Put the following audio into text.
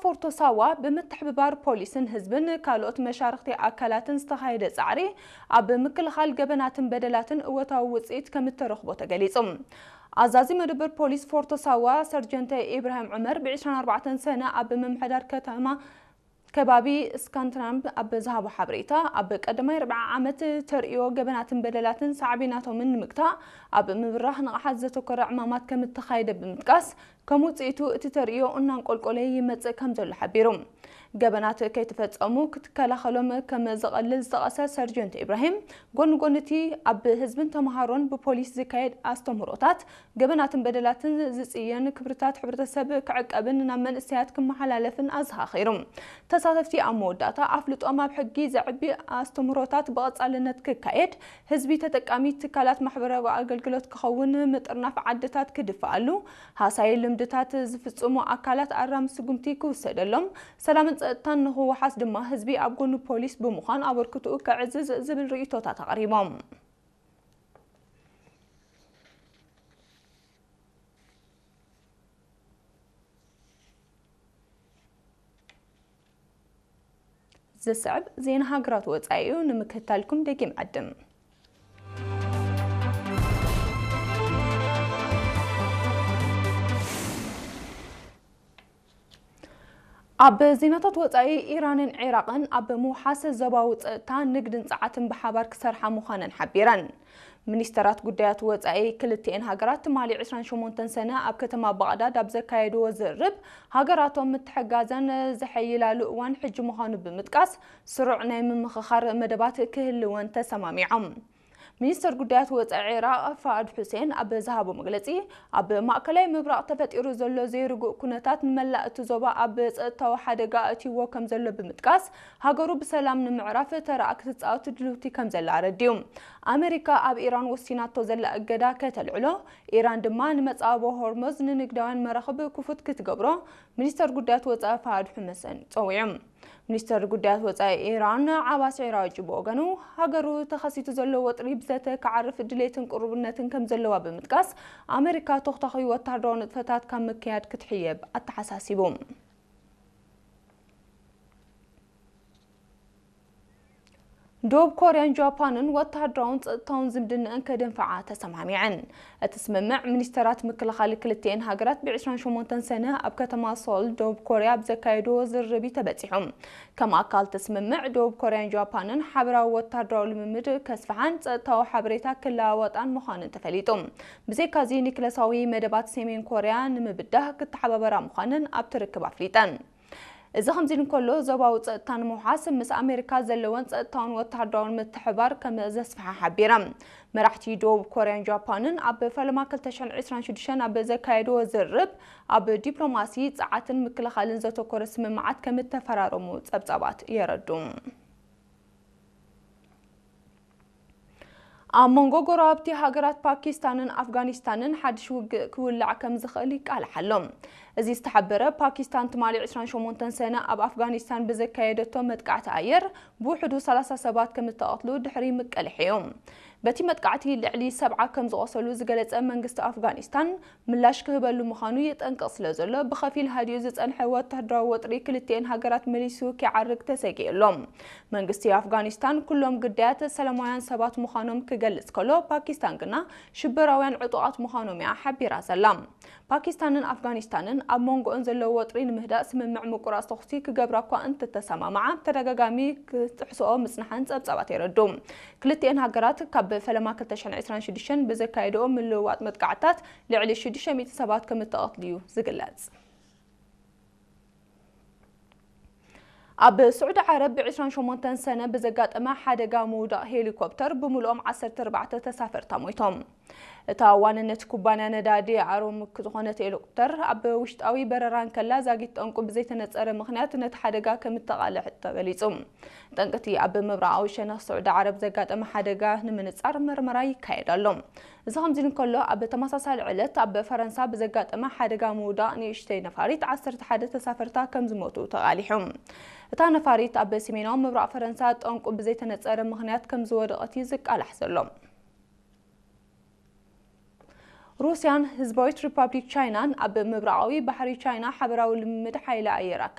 ፎርቶ ሳዋ ብምትሕብባር ፖሊስን ህዝብን ካልኦት መሻርኽቲ ኣካላትን ዝተኻየደ ጻዕሪ ኣብ ምክልኻል ገበናትን በደላትን እወታዊ ውጽኢት ከም እተረኽቦ ተገሊጹ። ኣዛዚ መደበር ፖሊስ ፎርቶ ሳዋ ሰርጀንተ ኢብራሂም ዑመር ብ ዕስራን ኣርባዕተን ሰነ ኣብ ምምሕዳር ከተማ ከባቢ ስካንትናምብ ኣብ ዝሃቦ ሓበሬታ፣ ኣብ ቀዳማይ ርብዓ ዓመት ተርእዮ ገበናትን በደላትን ሳዕቤናቶምን ንምግታእ ኣብ ምብራህ ንቕሓት ዘተኮረ ዕማማት ከም እተኻየደ ብምጥቃስ፣ ከም ውጽኢቱ እቲ ተርእዮ እናንቆልቆለ ይመጽእ ከም ዘሎ ሓቢሩ። ገበናት ከይተፈጸሙ ክትከላኸሎም ከም ዝቐልል ዝጠቐሰ ሰርጀንት ኢብራሂም፣ ጎኒ ጎኒ እቲ ኣብ ህዝብን ተምሃሮን ብፖሊስ ዝካየድ ኣስተምህሮታት፣ ገበናትን በደላትን ዝጽየን ክብርታት ሕብረተሰብ ክዕቀብን ናብ መንእሰያት ክመሓላለፍን ኣዘኻኺሩ። ተሳተፍቲ ኣብ መወዳእታ ኣፍልጦም ኣብ ሕጊ ዘዕቢ ኣስተምህሮታት ብቐጻልነት ክካየድ፣ ህዝቢ ተጠቃሚ ትካላት ማሕበራዊ ኣገልግሎት ክኸውን፣ ምጥርናፍ ዓድታት ክድፍኣሉ፣ ሃሳይ ልምድታት ዝፍጽሙ ኣካላት ኣራሚ ስጉምቲ ክውሰደሎም፣ ሰላምን ጸጥታን ንኽወሓስ ድማ ህዝቢ ኣብ ጎኒ ፖሊስ ብምዃን ኣበርክትኡ ከዕዝዝ ዝብል ርእይቶታት ኣቕሪቦም። ዝስዕብ ዜና ሃገራት ወጻኢ እዩ፣ ንምክትታልኩም ደጊም ዕድም። ኣብ ዜናታት ወጻኢ፣ ኢራንን ዒራቕን ኣብ ምውሓስ ዞባዊ ጸጥታ፣ ንግድን ጸዓትን ብሓባር ክሰርሓ ምዃነን ሓቢረን። ሚኒስተራት ጉዳያት ወጻኢ ክልቲኤን ሃገራት ትማሊ ዕስራን ሸሞንተን ሰነ ኣብ ከተማ ባቕዳድ ኣብ ዘካየድዎ ዝርርብ፣ ሃገራቶም ምትሕጋዘን ዘሐይላሉ እዋን ሕጂ ምዃኑ ብምጥቃስ፣ ስሩዕ ናይ ምምኽኻር መደባት ክህልወን ተሰማሚዖም። ሚኒስተር ጉዳያት ወጻኢ ዒራቕ ፋኣድ ሑሴን ኣብ ዝሃቦ መግለጺ፣ ኣብ ማእከላይ ምብራቕ ተፈጢሩ ዘሎ ዘይርጉእ ኩነታት ንመላእ እቲ ዞባ ኣብ ጸጥታዊ ሓደጋ ኣእትይዎ ከም ዘሎ ብምጥቃስ፣ ሃገሩ ብሰላም ንምዕራፍ ተራኣ ክትጻወት ድልውቲ ከም ዘላ ኣረዲኡ። ኣመሪካ ኣብ ኢራን ወሲናቶ ዘላ እገዳ ከተልዕሎ፣ ኢራን ድማ ንመጻወቦ ሆርሙዝ ንንግዳውያን መራኽብ ክፉት ክትገብሮ ሚኒስተር ጉዳያት ወጻኢ ፋሃድ ሑመሰን ጸዊዑ። ሚኒስተር ጉዳያት ወጻኢ ኢራን ዓባስ ዒራቂ ብወገኑ፣ ሃገሩ ተኸሲቱ ዘሎ ወጥሪ ብዘተ ክዓርፍ ድሌትን ቅሩብነትን ከም ዘለዋ ብምጥቃስ፣ ኣመሪካ ተኹታኺ ወታደራዊ ንጥፈታት ካብ ምክያድ ክትሕየብ ኣተሓሳሲቡ። ደቡብ ኮርያን ጃፓንን ወተሃደራውን ጸጥታውን ዝምድነአን ከደንፍዓ ተሰማሚዐን። እቲ ስምምዕ ሚኒስተራት ምክልኻል ክልቲኤን ሃገራት ብ ዕስራን ሸሞንተን ሰነ ኣብ ከተማ ሶል ደቡብ ኮርያ ኣብ ዘካየድዎ ዝርርብ እዩ ተበጺሑ። ከም ኣካል እቲ ስምምዕ፣ ደቡብ ኮርያን ጃፓንን ሓበራዊ ወተሃደራዊ ልምምድ ከስፍሓን ጸጥታዊ ሓበሬታ ክለዋወጣን ምዃነን ተፈሊጡ። ብዘይካዚ፣ ኒክለሳዊ መደባት ሰሜን ኮርያ ንምብዳህ ክተሓባበራ ምዃነን ኣብቲ ርክብ ኣፍሊጠን። እዚ ከምዚ እንከሎ፣ ዞባዊ ጸጥታ ንምውሓስ ምስ ኣሜሪካ ዘለወን ጸጥታውን ወተሃደራውን ምትሕብባር ከም ዘስፍሓ ሓቢረን። መራሕቲ ደቡብ ኮርያን ጃፓንን ኣብ ፈለማ ክልተ ሽሕን ዕስራን ሽዱሽተን ኣብ ዘካየድዎ ዝርርብ፣ ኣብ ዲፕሎማሲ፣ ጸዓትን ምክልኻልን ዘተኮረ ስምምዓት ከም እተፈራረሙ ጸብጻባት የረዱ። ኣብ መንጎ ጎረባብቲ ሃገራት ፓኪስታንን ኣፍጋኒስታንን ሓድሽ ውግእ ክውላዕ ከም ዝኽእል ይቃላሕ ኣሎ። እዚ ዝተሓበረ፣ ፓኪስታን ትማሊ ዕስራን ሸሞንተን ሰነ ኣብ ኣፍጋኒስታን ብዘካየደቶ መጥቃዕቲ ኣየር ብውሕዱ ሰላሳ ሰባት ከም እተቐትሉ ድሕሪ ምቅልሕ እዩ። በቲ መጥቃዕቲ ልዕሊ ሰብዓ ከም ዝቖሰሉ ዝገለጸ መንግስቲ ኣፍጋኒስታን፣ ምላሽ ክህበሉ ምዃኑ የጠንቅቕ ስለ ዘሎ፣ ብኸፊል ሃዲኡ ዝጸንሐ ወተሃደራዊ ወጥሪ ክልቲኤን ሃገራት መሊሱ ኪዓርግ ተሰጊኡ ኣሎ። መንግስቲ ኣፍጋኒስታን፣ ኩሎም ግዳያት ሰላማውያን ሰባት ምዃኖም ክገልጽ ከሎ፣ ፓኪስታን ግና ሽበራውያን ዕጡቓት ምዃኖም እያ ሓቢራ ዘላ። ፓኪስታንን ኣፍጋኒስታንን ኣብ መንጎኦን ዘሎ ወጥሪ ንምህዳእ ስምምዕ ምቁራጽ ተኹሲ ክገብራ እኳ እንተተሰማምዓ፣ ተደጋጋሚ ክጥሕስኦ ምጽንሓን ጸብጻባት የረዱ። ክልቲኤን ሃገራት ካብ ፈለማ ክልተ ሽሕን ዕስራን ሽዱሽተን ብዘካየድኦ ምልውዋጥ መጥቃዕትታት ልዕሊ ሽዱሽተ ሚእቲ ሰባት ከም እተቐትሉ እዩ ዝግለጽ። ኣብ ስዑዲ ዓረብ ብ ዕስራን ሸሞንተን ሰነ ብዘጋጠመ ሓደጋ ምውዳቕ ሄሊኮፕተር ብምልኦም ዓሰርተ ኣርባዕተ ተሳፈርታ ሞይቶም። እታ ዋንነት ኩባንያ ነዳዲ ኣሮሚክ ዝኾነት ሄሊኮፕተር ኣብ ውሽጣዊ በረራ እንከላ ዛጊት ጠንቁ ብዘይተነጸረ ምኽንያት ነቲ ሓደጋ ከም እተቓልዐ ተገሊጹ። ጠንቅቲ ኣብ ምብራቓዊ ሸነኽ ስዑዲ ዓረብ ዘጋጠመ ሓደጋ ንምንጻር መርመራ ይካየድ ኣሎ። እዚ ከምዚ እንከሎ፣ ኣብ ተመሳሳሊ ዕለት ኣብ ፈረንሳ ብዘጋጠመ ሓደጋ ምውዳቕ ንእሽተይ ነፋሪት ዓሰርተ ሓደ ተሳፈርታ ከም ዝሞቱ ተቓሊሑ። እታ ነፋሪት ኣብ ሰሜናዊ ምብራቕ ፈረንሳ ጠንቁ ብዘይተነጸረ ምኽንያት ከም ዝወደቐት እዩ ዝቃላሕ ዘሎ። ሩስያን ህዝባዊት ሪፓብሊክ ቻይናን ኣብ ምብራቓዊ ባሕሪ ቻይና ሓበራዊ ልምምድ ሓይሊ ኣየር